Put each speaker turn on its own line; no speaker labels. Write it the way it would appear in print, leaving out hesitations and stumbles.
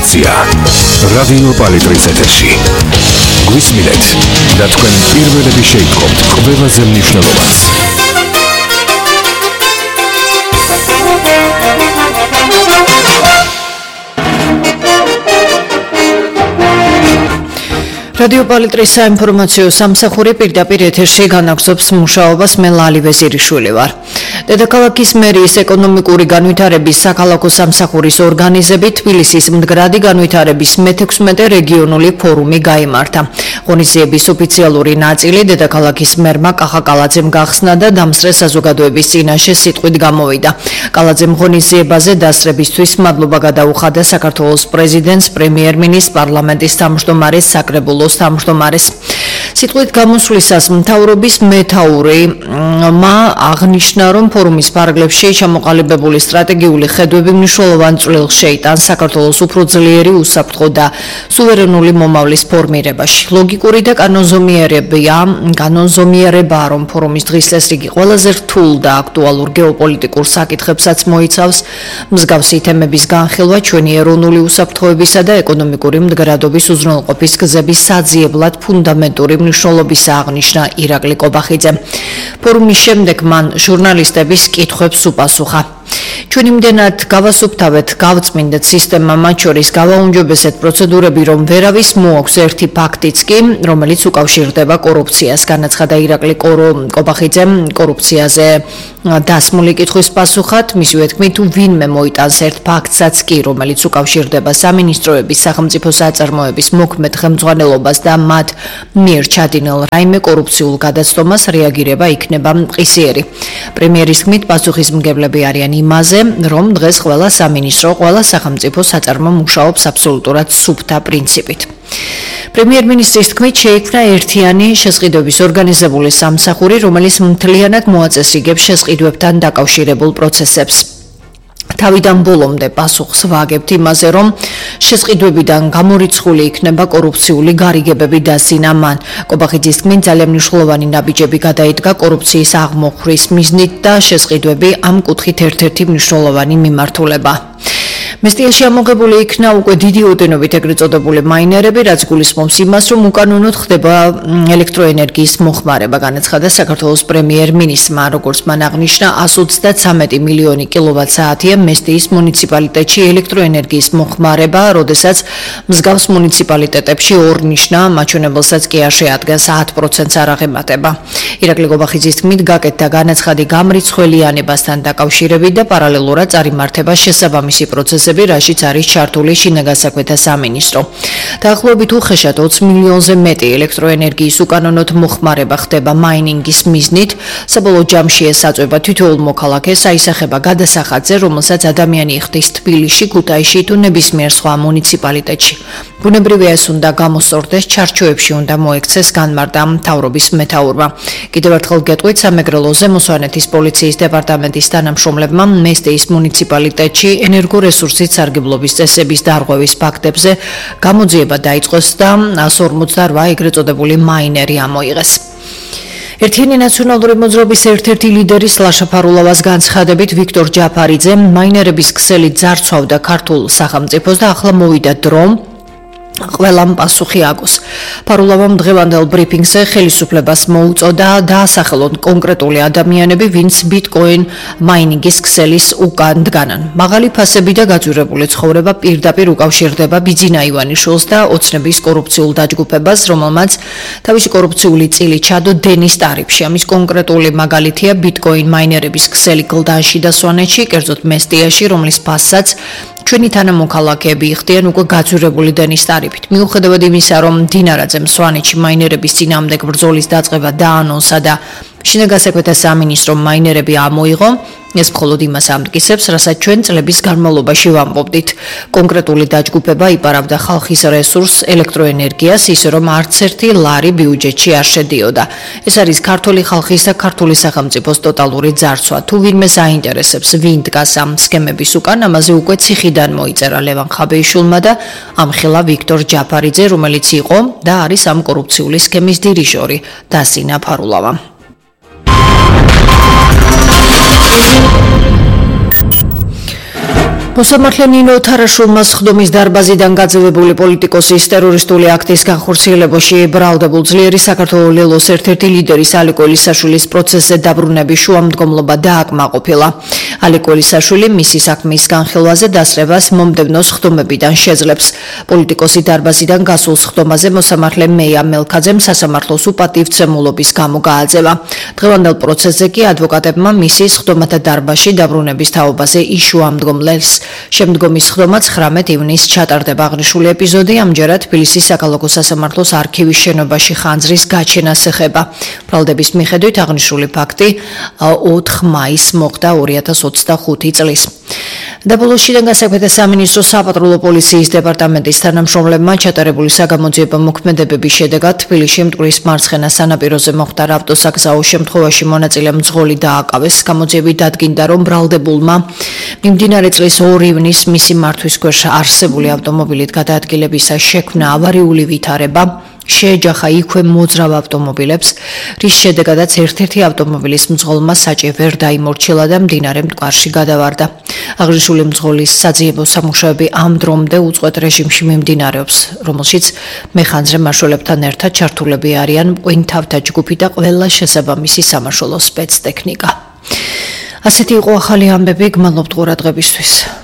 ინფორმაცია რადიო პალიტრის ეთერში. გვისმინეთ და თქვენ პირველები შეიტყობთ ყველაზე მნიშვნელოვანს.
რადიო პალიტრის საინფორმაციო სამსახური პირდაპირ ეთერში განაგრძობს მუშაობას. მე ლალი ვეზირიშვილი ვარ. დედაქალაქის მერიის ეკონომიკური განვითარების საქალაქო სამსახურის ორგანიზებით თბილისის მდგრადი განვითარების მე-16 რეგიონული ფორუმი გაიმართა. ღონისძიების ოფიციალური ნაწილი დედაქალაქის მერმა კახა კალაძემ გახსნა და დამსწრე საზოგადოების წინაშე სიტყვით გამოვიდა. კალაძემ ღონისძიებაზე დასწრებისთვის მადლობა გადაუხადა საქართველოს პრეზიდენტს, პრემიერ-მინისტრს, პარლამენტის თავმჯდომარეს, საკრებულოს თავმჯდომარეს. სიტყვით გამოსვლისას მთავრობის მეთაურმა აღნიშნა, რომ ფორუმის ფარგლებში ჩამოყალიბებული სტრატეგიული ხედვები მნიშვნელოვან წვლილს შეიტანს საქართველოს უფრო ძლიერი უსაფრთხო და სუვერენული მომავლის ფორმირებაში. ლოგიკური და კანონზომიერებაა, რომ ფორუმის დღის წესრიგი ყველაზე რთულ და აქტუალურ გეოპოლიტიკურ საკითხებსაც მოიცავს. მსგავსი თემების განხილვა ჩვენი ეროვნული უსაფრთხოებისა და ეკონომიკური მდგრადობის უზრუნველყოფის გზების საძიებლად ფუნდამენტური მნიშვნელობის აღნიშნა ირაკლი კობახიძემ. ფორუმის შემდეგ მან ჟურნალისტების კითხვებს უპასუხა. ჩვენი იმდენად გავასუფთავეთ, გავწმინდეთ სისტემა, მათ შორის გავაუნჯობესეთ პროცედურები, რომ ვერავის მოაქვს ერთი ფაქტიც კი, რომელიც უკავშირდება კორუფციას. განაცხადა ირაკლი კობახიძემ კორუფციაზე დასმული კითხვის პასუხად. მისივე თქმით, თუ ვინმე მოიტანს ერთ ფაქტსაც კი, რომელიც უკავშირდება სამინისტროების, სახელმწიფო საწარმოების მოქმედ ხელმძღვანელობას და მათ მიერ ჩადინელ რაიმე კორუფციულ გადაცდომას, რეაგირება იქნება მყისიერი. პრემიერის თქმით, პასუხისმგებლები არიან იმაზე, რომ დღეს ყველა სამინისტრო, ყველა სახელმწიფო საწარმო მუშაობს აბსოლუტურად სუფთა პრინციპით. პრემიერ-მინისტრის თქმით, შეიქმნა ერთიანი შესყიდვების ორგანიზებული სამსახური, რომელიც მთლიანად მოაწესრიგებს შესყიდვებთან დაკავშირებულ პროცესებს. თავიდან ბოლომდე პასუხს ვაგებთ იმაზე, რომ შესყიდვებიდან გამორიცხული იქნება კორუფციული გარიგებები და სინამან. კობახიძის თქმით, ძალიან მნიშვნელოვანი ნაბიჯები გადაიდგა კორუფციის აღმოხვრის მიზნით და შესყიდვები ამ კუთხით ერთ-ერთი მნიშვნელოვანი მიმართულება. მესტიაში ამოღებული იქნა უკვე დიდი ოდენობით ეგრეთ წოდებული მაინერები, რაც გულისხმობს იმას, რომ უკანონოდ ხდება ელექტროენერგიის მოხმარება. განაცხადა საქართველოს პრემიერ-მინისტრმა, როგორც მან აღნიშნა, 133 მილიონი კილოვატ-საათია მესტიის მუნიციპალიტეტში ელექტროენერგიის მოხმარება, როდესაც მსგავს მუნიციპალიტეტებში ორნიშნა მაჩვენებელსაც კი არ შეადგენს 10%-ს არ აღემატება. ირაკლი კობახიძის თქმით, გაკეთდა განაცხადი გამრიცხველიანებასთან დაკავშირებით და პარალელურად წარიმართება შესაბამისი პროცესები, რაშიც არის ჩართული შინაგანსაქმეთა სამინისტრო. დაახლოებით უხეშად 20 მილიონზე მეტი ელექტროენერგიის უკანონოდ მოხმარება ხდება მაინინგის მიზნით. საბოლოო ჯამში ეს აწვება თითოეულ მოქალაქეს აისახება გადასახადზე, რომელსაც ადამიანი იხდის თბილისში, ქუთაისში თუ ნებისმიერ სხვა მუნიციპალიტეტში. ბუნებრივია ეს უნდა გამოსწორდეს, ჩარჩოებში უნდა მოექცეს, განმარტა მთავრობის მეთაურმა. კიდევ ერთხელ გეტყვით, სამეგრელოზე მოსვანეთის პოლიციის დეპარტამენტის თანამშრომლებმა მესტიის მუნიციპალიტეტში ენერგორესურსის სარგებლობის წესების დარღვევის ფაქტებზე გამოძიება დაიწყოს და 148 ეგრეთ წოდებული მაინერი ამოიღეს. ერთიანი ნაციონალური მოძრაობის ერთ-ერთი ლიდერის ლაშა ფარულავას განცხადებით, ვიქტორ ჯაფარიძე მაინერების ქსელით ძარცვავდა ქართულ სახელმწიფოს და ახლა მოვიდა დრო ყველამ პასუხი აგოს. ფარულავამ დღევანდელ ბრიფინგზე ხელისუფლებას მოუწოდა დაასახელონ კონკრეტული ადამიანები, ვინც ბიტკოინ მაინინგის ქსელის უკან დგანან. მაღალი ფასები და გაძვირებული ცხოვრება პირდაპირ უკავშირდება ბიძინა ივანიშვილს და ოცნების კორუფციულ დაჯგუფებას, რომელმაც თავისი კორუფციული წილი ჩადო დენის ტარიფში. ამის კონკრეტული მაგალითია ბიტკოინ მაინერების ქსელი გლდანში და სვანეთში, კერძოდ მესტიაში, რომლის ფასსაც ჩვენი თანამოქალაქეები იხდიან უკვე გაძვირებული დენის ტარიფით. მიუხედავად იმისა, რომ დინარაძემ სვანეთში მაინერების წინააღმდეგ ბრძოლის დაწყება დაანონსა და შინაგანსაქმეთა სამინისტრომ მაინერები ამოიღო, ეს მხოლოდ იმას ამტკიცებს, რასაც ჩვენ წლების განმავლობაში ვამბობდით. კონკრეტული დაჯგუფება იპარავდა ხალხის რესურსს, ელექტროენერგიას, ისე რომ არც ერთი ლარი ბიუჯეტში არ შედიოდა. ეს არის ქართული ხალხის და ქართული სახელმწიფოს ტოტალური ძარცვა. თუ ვინმე საინტერესებს, ვინ დგას ამ სქემების უკან, ამაზე უკვე ციხიდან მოიწერა ლევან ხაბეიშვილმა და ამხილა ვიქტორ ჯაფარიძე, რომელიც იყო და არის ამ კორუფციული სქემის დირიჟორი დასინა ფარულავა. მოსამართლე ნინო თარაშულმა სხდომის დარბაზიდან გაძევებული პოლიტიკოსის ტერორისტული აქტის განხორციელებაში ბრალდებულ ძლიერი საქართველოს ლელოს ერთ-ერთი ლიდერის ალიკო ელისაშვილის პროცესზე დაბრუნების შუამდგომლობა დააკმაყოფილა. ალიკო ელისაშვილი მისი საქმის განხილვაზე დასწრებას მომდევნო სხდომებიდან შეძლებს. პოლიტიკოსი დარბაზიდან გასულ სხდომაზე მოსამართლე მეია მელქაძემ სასამართლოს უპატივცემულობის გამო გააძევა. დღევანდელ პროცესზე კი ადვოკატებმა მისი სხდომათა დარბაზში დაბრუნების თაობაზე იშუამდგომლეს. შემდგომი სხდომა 19 ივნისს ჩატარდება. აღნიშნული ეპიზოდი ამჯერად თბილისის საკალათო სასამართლოს არქივის შენობაში ხანძრის გაჩენას ეხება. ბრალდების მიხედვით აღნიშნული ფაქტი 4 მაისს მოხდა 2025 წლის. დაბოლოს შინაგან განსაკუთრებათა სამინისტროს საპატრულო პოლიციის დეპარტამენტის თანამშრომლებმა ჩატარებული საგამოძიებო მოქმედებების შედეგად თბილისში მტკვრის მარცხენა სანაპიროზე მოხდა ავტოსაგზაო შემთხვევაში მონაწილე მძღოლი დააკავეს. გამოძიებით დადგინდა, რომ ბრალდებულმა მიმდინარე წლის 2 ივნისს მისი მართვის ქვეშ არსებული ავტომობილით გადაადგილებისას შექმნა ავარიული ვითარება. შეეჯახა იქვე მოძრავ ავტომობილებს, რის შედეგადაც ერთ-ერთი ავტომობილის მძღოლმა საჭე ვერ დაიმორჩილა და მდინარე მტკვარში გადავარდა. აღნიშნული მძღოლის საძიებო სამუშაოები ამ დრომდე უწყვეტ რეჟიმში მიმდინარეობს, რომელშიც მეხანძრე მაშველებთან ერთად ჩართულები არიან მყინთავთა ჯგუფი და ყველა შესაბამისი სამაშველო სპეცტექნიკა. ასეთი იყო ახალი ამბები, გმადლობთ ყურადღებისთვის.